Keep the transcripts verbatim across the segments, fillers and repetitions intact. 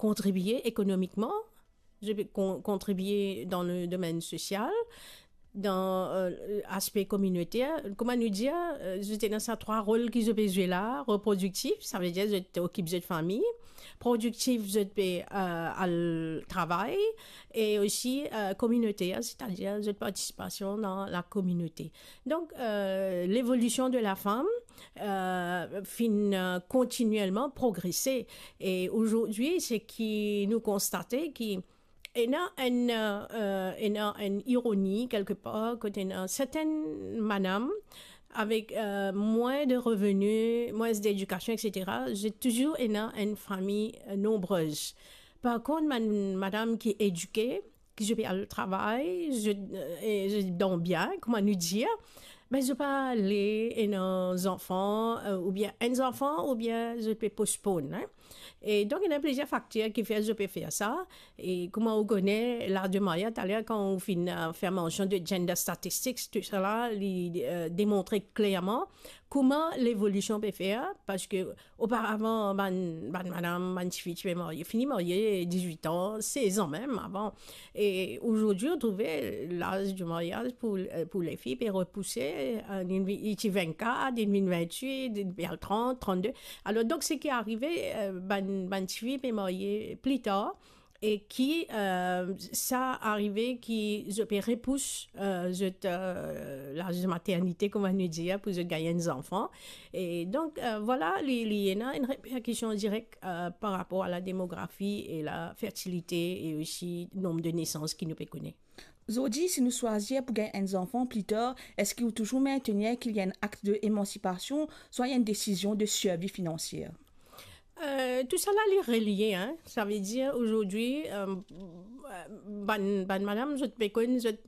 kontribie ekonomikman, zot pe kon-, kontribie dan le domenn sosial, dan, euh, aspe kominoter. Kouma nou dir, euh, zot ena sa trwa rol ki zot pe zwe la, reprodiktif, savedir zot okip zot fami, prodiktif, zot pe, euh, al travay, e osi, euh, kominoter, setadir zot partisipasion dan lakominote. Donk, euh, levolision de lafam, euh, finn, euh, kontinielman progrese. E azordi, seki nou konstate ki ena enn, euh, ena enn ironi kelkepar, kot ena sertenn madam avek, euh, mwins de reveni, mwins dedikasion, et cetera, zot touzour ena enn fami, euh, nonbrez. Par kont, bann madam ki edike, ki zot pe al travay, zot, euh, e zot dan bien, kouma nou dir, me zot pa le ena zanfan, euh, oubien enn zanfan, oubien zot pe postpone, hein. E donk, ena plizier fakter ki fer zot pe fer sa. E kouma ou kone, laz de maryaz, taler kan ou finn, euh, fer mansion de gender statistics, tousala, li, euh, demontre klerman kouma levolision pe fer, parski oparavan, bann, bann madam, bann tifi ti pe marye, fini marye dizwit an, sez an mem avan. E azordi, ou trouve laz de maryaz pou, euh, pou lefi pe repouse, euh, li, li ti vennkat, li vinn vennwit, li pe al trant, trannde. Alor, donk, seki arive, euh, bann, bann tifi pe marye pli tar, e ki, euh, sa arive ki zot pe repous, euh, zot, euh, laz de maternite, kouma nou dir, pou zot gagn enn zanfan. E donk, euh, vwala, li, li ena enn reperkision direk, euh, par rapor a la demografi e la fertilite e osi nonb de nesans ki nou pe kone. Zordi, si nou swazir pou gagn enn zanfan pli tar, eski ou touzour mintenir ki li enn akt de emansipasion, swa enn desizion de sirvi finansier? Euh, tousala, li relie, hein. Savedir, azordi, euh, bann, bann madam, zot pe konn zot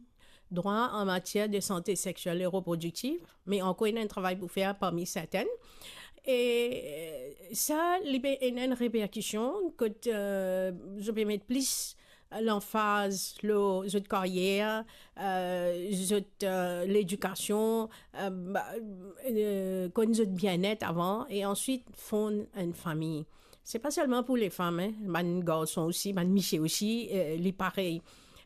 drwa an matier de sante sexiel e reprodiktif, me ankor ena enn travay pou fer parmi sertenn. E, euh, sa, li pe ena enn reperkision kot, euh, zot pe met plis lanfaz lor zot karyer, euh, zot, euh, ledikasion, euh, ba, euh, konn zot bienet avan, e answit fonn enn fami. Se pa selman pou lefam, hein, bann garson osi, bann misie osi, euh, li parey.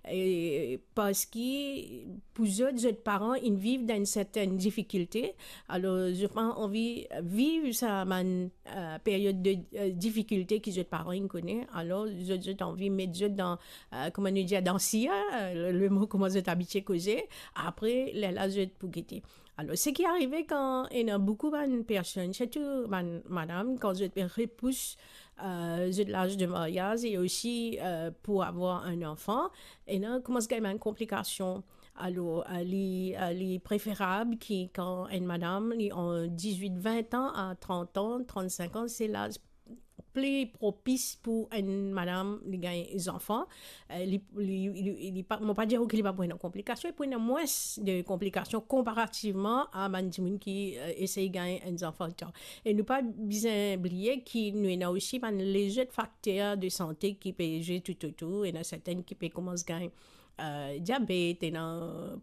E parski pou zot, zot paran inn viv dan enn sertenn difikilte, alor zot pa anvi viv sa bann, euh, period de, euh, difikilte ki zot paran inn kone, alor zot, zot anvi met zot dan, euh, kouma nou dir, dan sir, euh, le, le mo kouma zot abitie koze, apre, lerla zot pou gete. Alor, seki arive kan ena boukou bann personn, sirtou bann madam, kan zot pe repous, euh, zot laz de maryaz e osi, euh, pou avoir enn zanfan, ena koumans gagn bann konplikasion. Alor, euh, li, euh, li preferab ki kan enn madam, li an dizwit, vin an, a trant an, trannsink an, se laz pli propis pou enn madam li gagn zanfan. Euh, li, li, li, li pa, mo pa dir ou ki li pa pou ena konplikasion, li pou ena mwins de konplikasion konparativman a bann dimoun ki, euh, esey gagn enn zanfan tar. E nou pa bizin bliye ki nou ena osi bann lezot fakter de sante ki pe zwe toutotour, ena sertenn ki pe koumans gagn euh, diabet, ena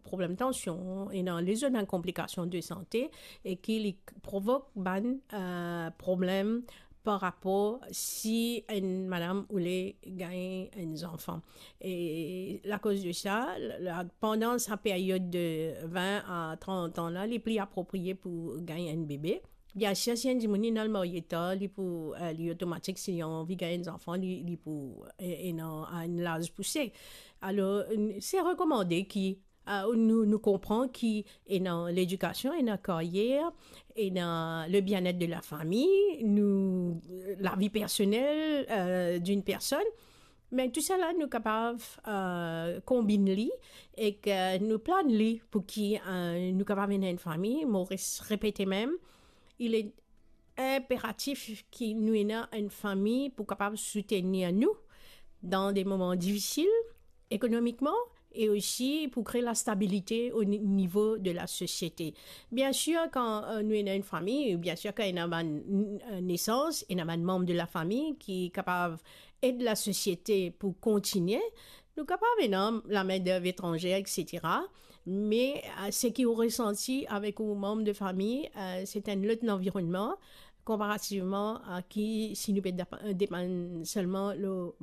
problem tansion, ena lezot bann konplikasion de sante, e ki li provok bann, euh, problem par rapor si enn madam oule gagn enn zanfan. E lakoz de sa, la, pandan sa period de vin a trant an la, li pli apropriye pou gagn enn bebe. Biensir, si enn dimoun inn al marye tar, li pou, euh, li otomatik, si li anvi gagn enn zanfan, li, li pou, euh, ena enn laz pouse. Alor, n-, se rekomande ki, euh, nou, nou konpran ki ena ledikasion, ena karyer, ena le bienet de lafami, nou, lavi personel, euh, d'une personne. Me tousala nou kapav, euh, konbinn li, e ki nou plan li pou ki, euh, nou kapav ena enn fami. Mo res-, repete mem, il est impératif ki nou ena enn fami pou kapav soutenir nou dan de moman difisil ekonomikman e osi pou kre lastabilite o ni-, nivo de lasosiete. Biensir, kan, euh, nou ena enn fami, biensir, kan ena bann, euh, nesans, ena bann manm de lafami ki kapav ed lasosiete pou kontinie, nou kapav ena lamendev etranze, et cetera. Me, euh, seki ou resanti avek ou manm de fami, euh, se enn lot lanvironnman. konparativman a ki si nou pe depa-, depann selman lor